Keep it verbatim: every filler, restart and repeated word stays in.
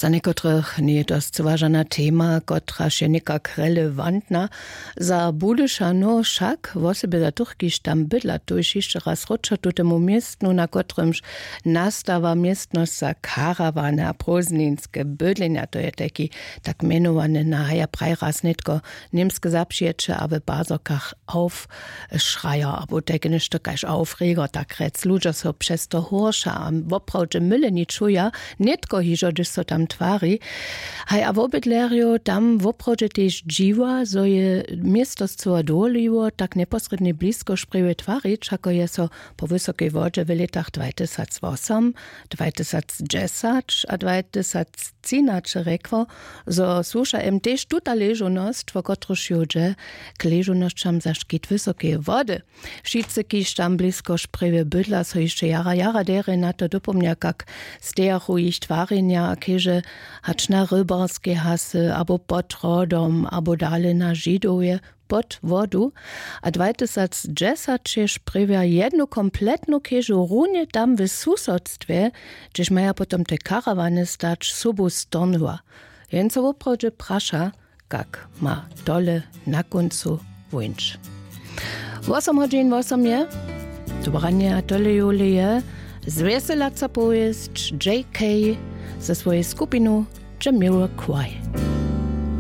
Za někotrych njeje to scyła žana tema, kotraž je někak relewantna. Za budyšanow wšak, wosebje za tych, kiž tam bydla, tuž hišće raz wróćo tutemu městnu, na kotrymž nastawa městnosć za karawany a prózdninske bydlenja. To je tajki tak mjenowany, na haja praj raz nětko němske zapřijeće a w bazokach aufschreier abo tajke něšto kaž aufreger, tak rjec. Ludźo so přez to horša a woprawdźe myle ni čuja, nětko hižo hdyž so tam twari. Haj, a wobydlerjo tam woprawdźe tež dźiwa, zo je město scyła dowoliło tak njeposrědnje blisko šprjewje twarić, hako je so po wysokej wodźe w lětach dwajtysacwosom, dwajtysacdźesać a dwajtysactřinaće rjekło, zo słuša jem tež tuta ležownosć, wo kotruž ju dźe, k ležownosćam za škit wysokeje wody. Wšitcy, kiž tam blisko šprjewje bydla, so hišće jara jara derje na to dopomnja, kak stejachu jich twarjenja a keže hač na rybarskej hasy abo pod hrodom abo dale na židowje pod wodu. A dwajtysacdźesać je šprjewja jednu kompletnu kežu runje tam w susodstwje, hdźež maja potom te karawany stać, sobu stornyła. Jen so woprawdźe praša, kak ma tole na kóncu wuńć. Wosom hodźin wosom je to branje a tole jule je zwjeselaca powěsć J K ze swojej skupinu Jamiroquai.